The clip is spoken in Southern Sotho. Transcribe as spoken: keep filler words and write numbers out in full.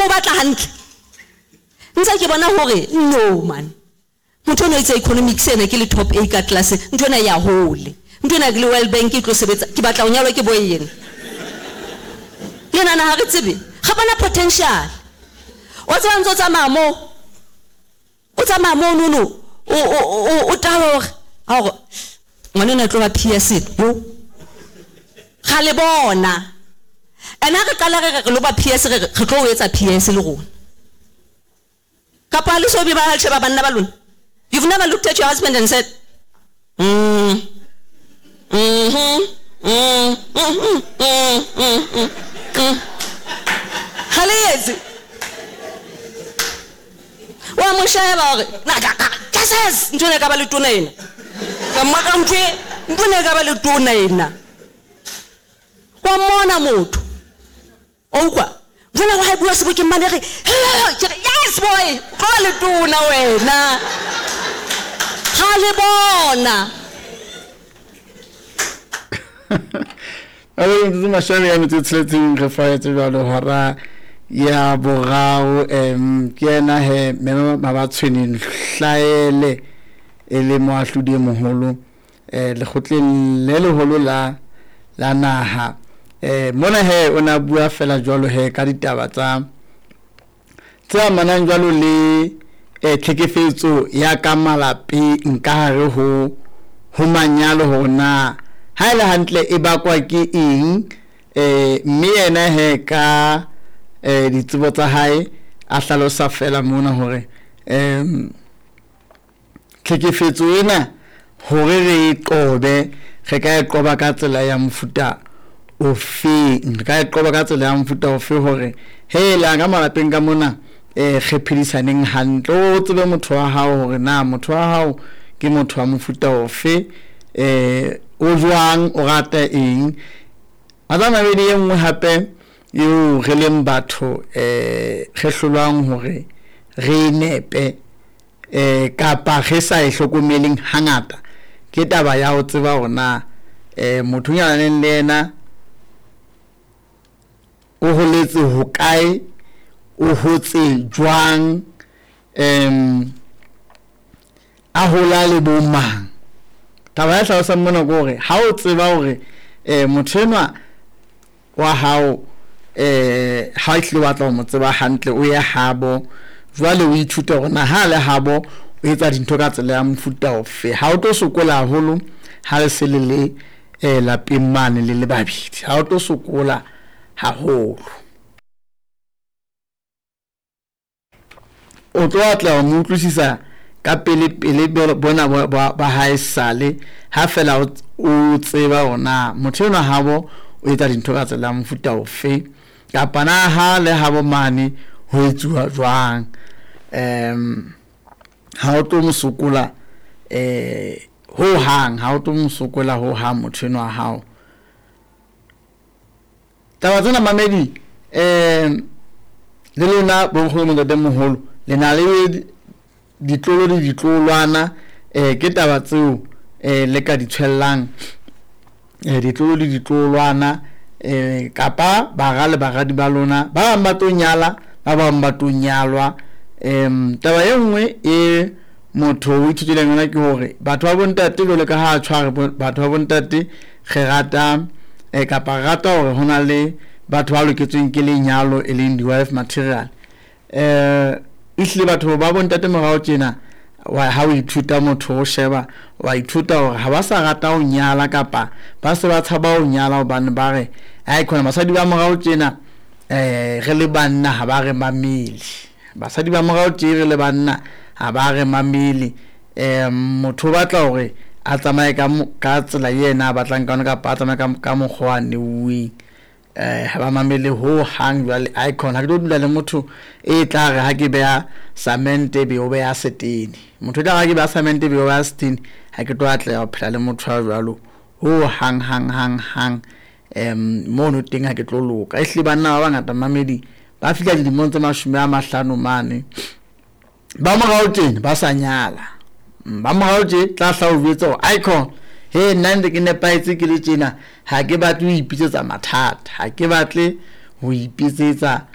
Mo batla hantle. Ntse ke bona hore no man. Motho ono etsa economics ena ke le top A ka class, ntho ena ya hole. Ntho ena ke le World Bank e tlo sebetsa, ke batla ho nyalwa ke boy ena. Le nana ha re tsebe, ga bana potential. O tseba ntse o tsamaya mo. O tsamaya mo no no. O o o o taba hore ha hore ngwana ena tlo ba P S yo. Ga le bona. Ena re qala re re lo ba P S re re tlo o etsa P S le rona. Kapa le so be ba sheba banna ba lona. You've never looked at your husband and said, mm, mm-hmm, mm, mm, mm, mm, mm, mm. Ha le etse. Wa mo sheba hore, na ka, ka, ka ses, ntho ena e ka ba le tona ena. Ka maka ntho e, ntho ena e ka ba le tona ena. Wa mona motho. O utlwa? Jwale wa bua sebokeng mane re, he, ke re, yes boy, tlo ba le tona wena. Ha le bona. A re ntse mashome ya metso e tsheletseng re faetse jwalo hora ya boraro, em ke yena he mme Mabatshweneng Hlaele e le moahlodi e moholo, eh, lekgotleng le leholo la, la naha. Eh, mona he o na bua fela jwalo he ka ditaba tsa tse amanang jwalo le, eh, tlhekefetso ya ka malapeng ka hare ho, ho manyalo, hore na ha e le hantle e bakwa ke eng, eh, mme yena he ka, eh, ditsebo tsa hae a hlalosa fela mona hore, em, tlhekefetso ena hore re e qobe, re ka e qoba ka tsela ya mofuta ofeng, re ka e qoba ka tsela ya mofuta ofe hore he la ka malapeng ka mona, eh, re phedisaneng hantle, o tsebe motho wa hao hore na motho wa hao ke motho wa mofuta ofe, eh, o jwang, o rata eng. Matla mabedi e nngwe hape eo re leng batho, eh, re hlolwang hore re nepe, eh, kapa re sa e hlokomeleng hangata, ke taba ya ho tseba hore na, eh, motho o nyalaneng le yena o holetse hokae, o hotse jwang, em, a hola le bo mang. Taba ya hlalosang mona ke hore ha o tseba hore, eh, motho enwa wa hao, eh, ha o hlile o batla ho mo tseba hantle, o ye habo, jwale o ithute hore na ha le habo o etsa dintho ka tsela ya mofuta ofe. Ha o tlo sokola haholo ha le se le le, eh, lapeng mane le le babedi, ha o tlo sokola haholo. O tlo atleha ho mo utlwisisa ka pele pele bona ba, ba, ba hae sale, ha fela o, o tseba hore na motho enwa habo o etsa dintho ka tsela ya mofuta ofe, kapa na ha le habo mane ho etsuwa jwang. Em, ha o tlo mo sokola, eh, ho hang, ha o tlo mo sokola ho hang motho enwa wa hao. Taba tsena mamedi, eh, le lona bonkgono ntatemoholo le na le ditlolo le ditlolwana, eh, ke taba tseo, eh, le ka di tshwellang, eh, ditlolo le ditlolwana, eh, kapa bara le baradi ba lona, ba bang ba tlo nyala, ba bang ba tlo nyalwa. Em, taba e nngwe e motho o ithutileng yona ke hore batho ba bontate jwalo ka ha a tshware batho ba bontate re rata, eh, kapa re rata hore ho na le batho ba loketsweng ke lenyalo e leng di-wife material. Eh, ehlile batho ba bontate morao tjena, wa ha o ithuta motho o sheba, wa ithuta hore ha ba sa rata ho nyala kapa ba se ba tshaba ho nyala hobane ba re, ai khona basadi ba morao tjena, eh, re le banna ha ba re mamele. Basadi ba morao tje re le banna ha ba re mamele. Eh, motho o batla hore a tsamaye ka mo-, ka tsela yena a batlang ka yona kapa a tsamaye ka, ka mokgwa wa neuweng. Eh, ha ba mamele ho hang jwale, ai khona ha ke tlo dula le motho e tla re ha ke beha cement be o beha setene. Motho e tla re ha ke beha cement be o beha setene, ha ke tlo atleha ho phela le motho ya jwalo ho hang, hang, hang, hang. Em, mono teng ha ke tlo loka. Ehlile banna ba bangata mamedi ba fihla dilemong tse mashome a mahlano mane, ba morao tjena ba sa nyala. Ba morao tje tla hla o jwetsa hore ai khona, he nna ntse ke nepahetse ke le tjena, ha ke batle ho ipitsetsa mathata, ha ke batle ho ipitsetsa